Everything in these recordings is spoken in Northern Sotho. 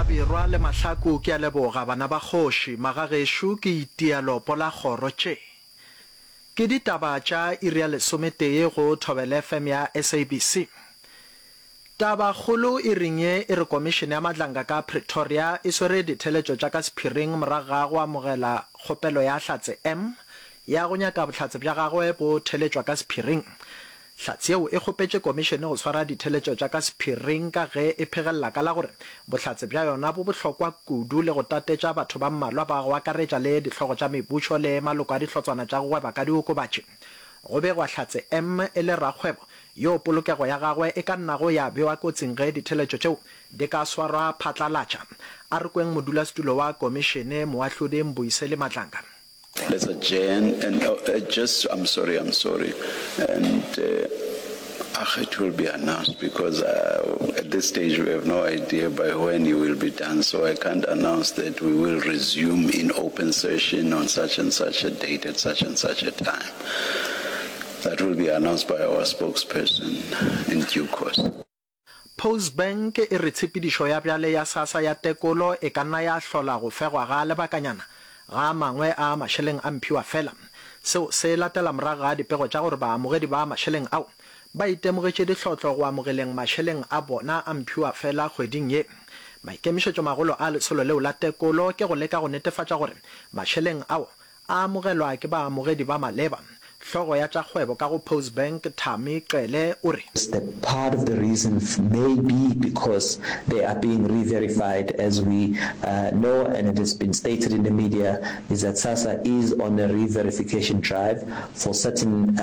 Hlabirwa le Mahlaku ke a leboga bana ba kgoši, magagešo ke itia lopo la kgoro tše. Ke ditaba tša iri ya lesometee go Thobela FM ya SABC. Taba kgolo iring ye e re Komišene ya Madlanga ka Pretoria e swere ditheeletšo tša ka sephiring morago ga go amogela kgopelo ya Hlatse M ya go nyaka bohlatse bja gagwe bo theeletšwa ka sephiring. Hlatse yeo e kgopetše komišene go swara ditheeletšo tša ka sephiring ka ge e phegelela ka la gore bohlatse bja yona bo bohlokwa kudu le go tatetša batho ba mmalwa ba go akaretša le dihlogo tša mebušo le maloko a dihlotswana tša go gweba ka diokobatši. Go begwa Hlatse M e le rakgwebo yoo polokego ya gagwe e ka nnago ya bewa kotsing ge ditheeletšo tšeo di ka swarwa phatlalatša. A re kweng modulasetulo wa komišene, Moahlodi Mbuyiseli Madlanga. Let's adjourn and uh, just I'm sorry, I'm sorry. And uh, it will be announced because uh, at this stage we have no idea by when you will be done. So I can't announce that we will resume in open session on such and such a date at such and such a time. That will be announced by our spokesperson in due course. Postbank e re tshepedišo ya bjale ya SASSA ya tekolo e ka nna ya hlola go fegwa ga lebakanyana ga a mangwe a mašeleng a mphiwafela. Seo se latela morago ga dipego tša gore baamogedi ba mašeleng ao ba itemogetše dihlotlo go amogeleng mašeleng a bona a mphiwafela kgweding ye. Maikemišetšomagolo a lesolo leo la tekolo ke go leka go netefatša gore mašeleng ao a amogelwa ke baamogedi ba maleba. Hlogo ya tša kgwebo ka go Postbank, Thami Cele o re. The part of the reason may be because they are being re-verified as we know and it has been stated in the media is that SASSA is on a re-verification drive for certain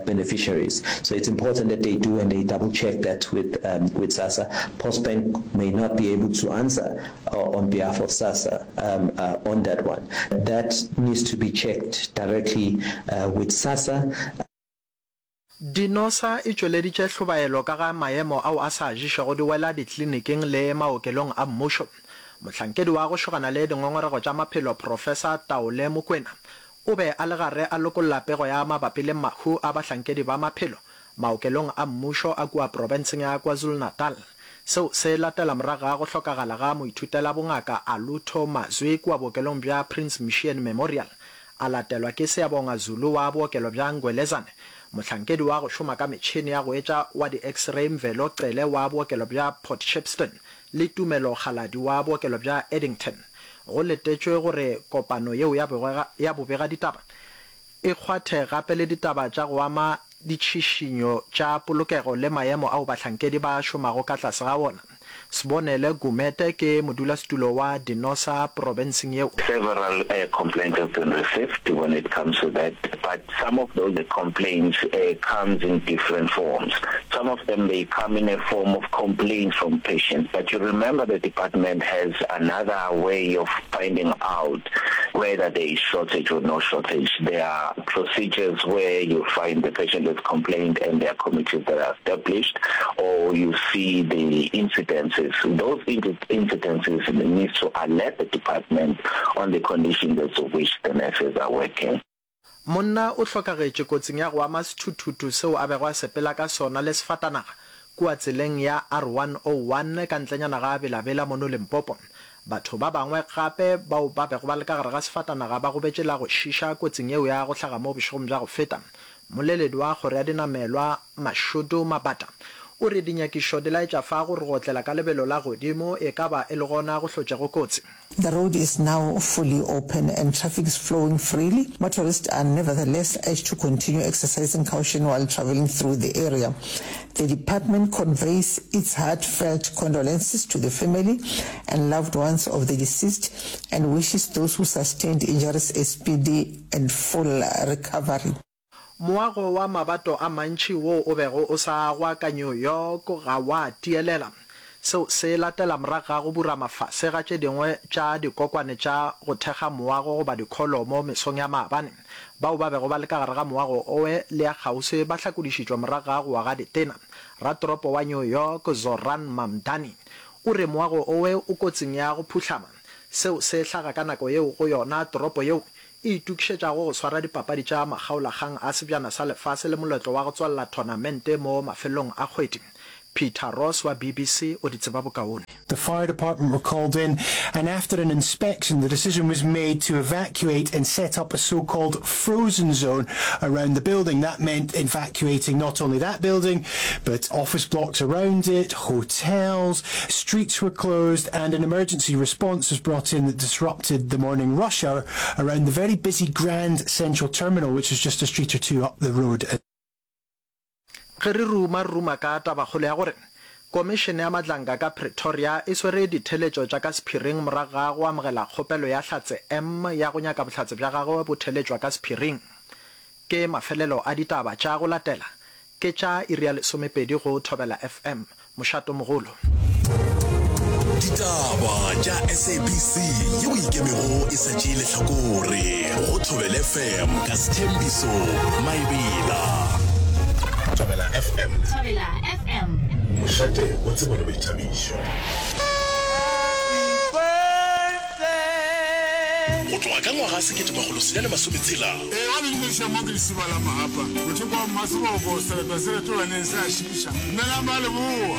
beneficiaries. So it's important that they do and they double check that with with SASSA. Postbank may not be able to answer on behalf of SASSA um, uh, on that one. That needs to be checked directly uh, with SASSA. Dinosa e tšweleditše hlobaelo ka ga maemo ao a sa ješego di wela dikliniking le maokelong a mmušo. Mohlankedi wa go šogana le dingongorego tša maphelo Professor Taole Mokwena o be a le gare a lokolla pego ya mabapi le mahu a bahlankedi ba maphelo maokelong a mmušo a kua profenseng ya KwaZulu-Natal. Seo se latela morago ga go hlokagala ga moithutelabongaka Alutho Mazwi kua bookelong bja Prince Mshiyeni Memorial, a latelwa ke Siyabonga Zulu wa bookelo bja Ngwelezane, mohlankedi wa go šoma ka metšhene ya go etša wa di-X-ray Mvelo Cele wa bookelo bja Port Shepstone le Tumelo Kgaladi wa bookelo bja Addington. Go letetšwe gore kopano yeo ya bobegaditaba e kgwathe gape le ditaba tša go ama ditšhišinyo tša polokego le maemo ao bahlankedi ba šomago ka tlase ga wona. Sbonele Gumede ke modulasetulo wa Dinosa profenseng yeo. Several complaints have been received when it comes to that but some of those complaints comes in different forms. Some of them they come in a form of complaints from patients but you remember the department has another way of finding out whether there is shortage or no shortage. There are procedures where you find the patient has complained and there are committees that are established or you see the incidences. Those incidences need to alert the department on the conditions as to which the nurses are working. Monna o hlokagetše kotsing ya go ama sethuthuthu seo a bego a sepela ka sona le sefatanaga kua tseleng ya R101 ka ntlenyana ga Bela-Bela mono Limpopo. Batho ba bangwe gape bao ba bego ba le ka gare ga sefatanaga ba gobetše la go šiša kotsing yeo ya go hlaga mo bošegong bja go feta. Mmoleledi wa kgoro ya dinamelwa Mashudu Mabata o re dinyakišo di laetša fa gore go otlela ka lebelo la godimo e ka ba e le gona go hlotšego kotsi. The road is now fully open and traffic is flowing freely. Motorists are nevertheless urged to continue exercising caution while travelling through the area. The department conveys its heartfelt condolences to the family and loved ones of the deceased and wishes those who sustained injuries a speedy and full recovery. Moago wa mabato a mantši woo o bego o sa agwa ka New York ga wa tielela. Seo se latela morago ga go burama fase ga tše dingwe tša dikokwane tša go thekga moago goba dikholomo mesong ya maabane. Bao ba bego ba le ka gare ga moago owe le ya kgauswi ba hlakodišitšwe morago ga go wa ga ditena. Ratoropo wa New York Zohran Mamdani o re moago owe o kotsing ya go phuhlama. Seo se hlaga ka nako yeo go yona toropo yeo e itokišetšago go swara dipapadi tša makgaolakgang a Sebjana sa Lefase le moletlo wa go tswalela thonamente mo mafelelong a kgwedi. Peter Ross wa BBC o di tseba bokaone. The fire department were called in and after an inspection the decision was made to evacuate and set up a so-called frozen zone around the building. That meant evacuating not only that building but office blocks around it, hotels, streets were closed and an emergency response was brought in that disrupted the morning rush hour around the very busy Grand Central Terminal which is just a street or two up the road. Ge re ruma, re ruma ka tabakgolo ya gore Komišene ya Madlanka ka Pretoria e swere ditheletšo tša ka sephiring morago ga go amogela kgopelo ya Hlatse M ya go nyaka bohlatse bja gagwe bo theletšwa ka sephiring. Ke mafelelo a ditaba tša go latela ke tša iri ya lesomepedi go Thobela FM. Mošatomogolo. Ditaba tša SABC yeo e ikemego e sa tšee lehlakore go Thobela FM ka Sthembiso Maebela. Thobela FM. Thobela FM. Mošate wa tsebo le boithabišo. Go tloga ka ngwaga 1960. Ee, ba le dumediša mo ke lesiba la Mahapa, mothoko wa Mmaseboko, selepe se retolaneng se a šiiša. Dumelang ba Leboa.